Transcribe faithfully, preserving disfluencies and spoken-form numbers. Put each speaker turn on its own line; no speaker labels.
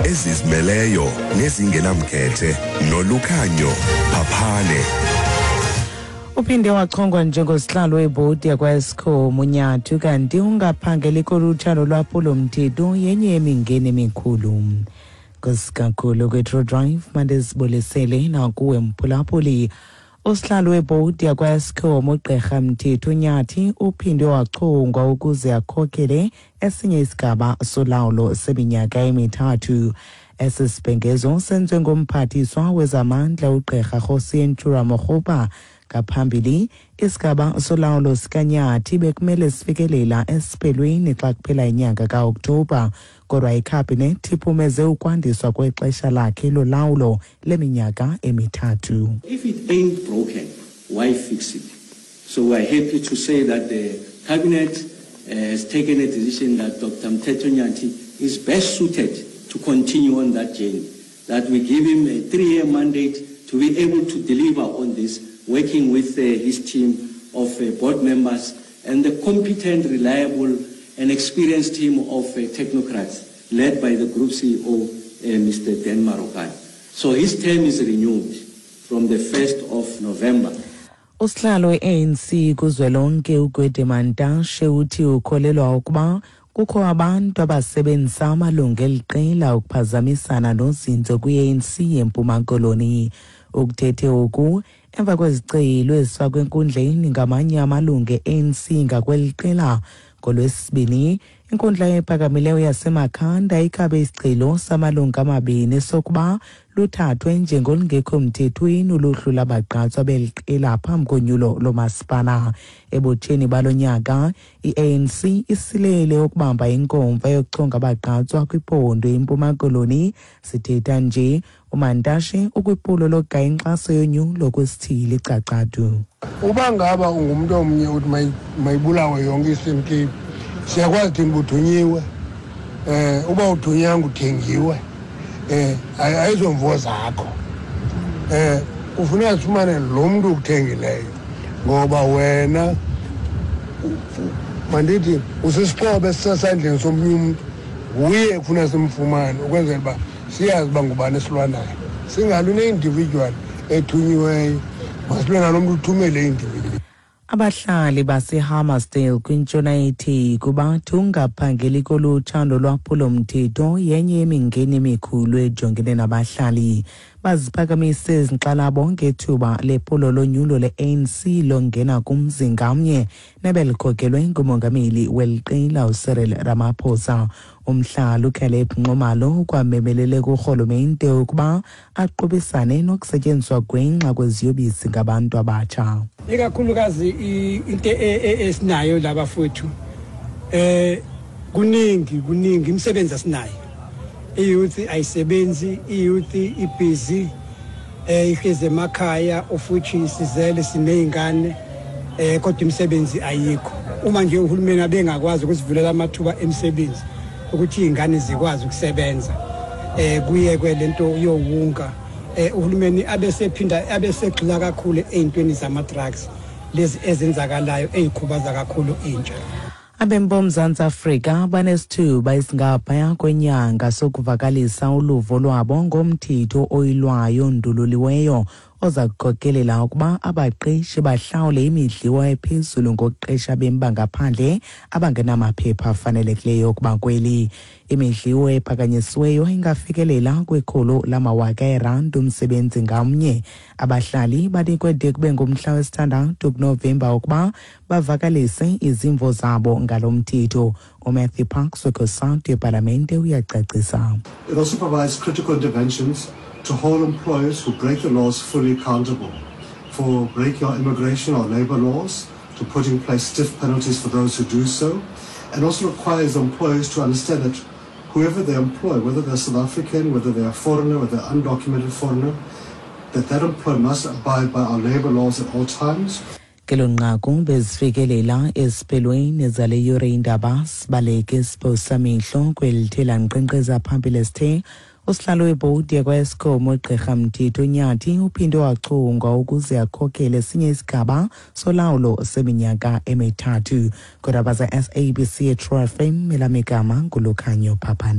Ezizimeleyo nezingenamkhethe noLukhanyo Phaphane.
Uphinde wachongwa njengosihlalo webhodi yakwa-Eskom uNyathi, kanti ungaphangeli kolutsha lolwaphulo-mthetho yenye yemingeni emikhulu. Nkosi kwe-True Drive, mandizibulisele nakuwe mphulaphuli. Usihlalo webhodi yakwa-Eskom uGqirha Mthetho Nyathi uphinde wachongwa ukuze akhokele esinye isigaba solawulo seminyaka emithathu. Esi sibhengezo senziwe ngumphathiswa wezamandla uGqirha Kgosientsho Ramokgopa. Ngaphambili, isigaba solawulo sikaNyathi bekumele sifikelela esiphelweni xa kuphela inyanga kaOkthobha, kodwa ikhabhinethi iphumeze ukwandiswa kwexesha lakhe lolawulo leminyaka emithathu.
If it ain't broken, why fix it? So we're happy to say that the cabinet uh, has taken a decision that Doctor Mthetho Nyathi is best suited to continue on that journey, that we give him a three-year mandate to be able to deliver on this, working with uh, his team of uh, board members and the competent, reliable and experienced team of uh, technocrats led by the group C E O, uh, Mister Dan Marokane. So his term is renewed from the first of November.
Usihlalo we-A N C kuzwelonke uGwede Mantashe uthi ukholelwa ukuba kukho abantu abasebenzisa amalungu eliqela ukuphazamisana nozinzo kwi-A N C eMpuma Koloni. Ukuthethe oku emva kwezicelo ezifakwe enkundleni ngamanye amalungu e-A N C ngakweli qela. NgolwesiBini, inkundla ephakamileyo yaseMakhanda ikhabe isicelo samalungu amabini sokuba luthathwe njengolungekho mthethweni uluhlu labagqatswa beli qela phambi konyulo lomasipala. Ebutsheni balo nyaka, i-A N C isilele ukubamba inkomfa yokuchonga abagqatswa kwiphondo iMpuma Koloni. Sithetha nje, uMantashe ukwiphulo lokugaya inkxaso yonyulo kwisithili iCacadu.
Uba ngaba ungumntu omnye uthi mayibulawe yonke i-Eastern Cape, siyakwazi thina uba uthunyiwe. um uba uthunyanga, uthengiwe, um ayizomvo zakho. um kufuneka sifumane lo mntu ukuthengileyo, ngoba wena, mandithi, usisixhobo esisesandleni somnye umntu. Nguye kufuneka simfumane ukwenzela uba siyazi uba ngubani esilwanayo. Singalwi ne-individual ethunyiweyo, masilwe nalo mntu uthumele i-individual.
Abahlali baseHammarsdale kwintshona yeTheku bathi ungaphangeli kolutsha nolwaphulo-mthetho yenye yemingeni emikhulu ejongene nabahlali. Baziphakamise izinkxalabo ngethuba lephulo lonyulo le-A N C longena kumzi ngamnye nebelikhokelwe ngumongameli weli qela uCyril Ramaphosa. Umhlali uCaleb Nxumalo ukwamemelele kurhulumente ukuba aqubisane nokusetyenziswa gwenxa kweziyobisi ngabantu abatsha.
Ikakhulukazi into esinayo labafowethu, eh kuningi kuningi imisebenzi asinayo. I-youth ayisebenzi, i-youth ibusy, eh ihlezi emakhaya, ofuthi sizele sineyingane, eh kodwa imisebenzi ayikho. Uma nje uhulumeni abengakwazi ukusivulela amathuba emisebenzi ukuthi izingane zikwazi ukusebenza, eh kuyekwe lento yowunga, eh uhulumeni abesephinda abesegxila kakhulu ezintweni zama drugs lezi ezenzakalayo ezikhubaza kakhulu intsha.
Abemi boMzantsi Afrika banesithuba esingaphaya kwenyanga sokuvakalisa uluvo lwabo ngomthetho oyilwayo ondululiweyo oza kukhokelela ukuba abaqeshi bahlawule imidliwo ephezulu ngokuqesha abemi bangaphandle abangenamaphepha afanelekileyo ukuba kweli. Imidliwo ephakanyisiweyo ingafikelela kwikhulu lamawaka eerandi umsebenzi ngamnye. Abahlali banikwe de kube ngumhla wesithandathu kuNovemba ukuba bavakalise izimvo zabo ngalo mthetho. UMatthew Parks weCOSATU epalamente uyacacisa.
It also provides critical interventions to hold employers who break the laws fully accountable for breaking our immigration or labor laws, to put in place stiff penalties for those who do so, and also requires employers to understand that whoever they employ, whether they're South African, whether they're a foreigner, whether they're undocumented foreigner, that that employer must abide by our labor laws at all times.
Kelo nqaku bezifikelela esiphelweni zale yure indaba. Sibaleke siphosamihlo kweli lankqenkqeza phambili esithe usihlalo webhodi yakwa-Eskom uGqirha Mthetho Nyathi uphinde wachongwa ukuze akhokele esinye isigaba solawulo seminyaka emithathu. Kodwa za S A B C True F M, elamigama nguLukhanyo Phaphane.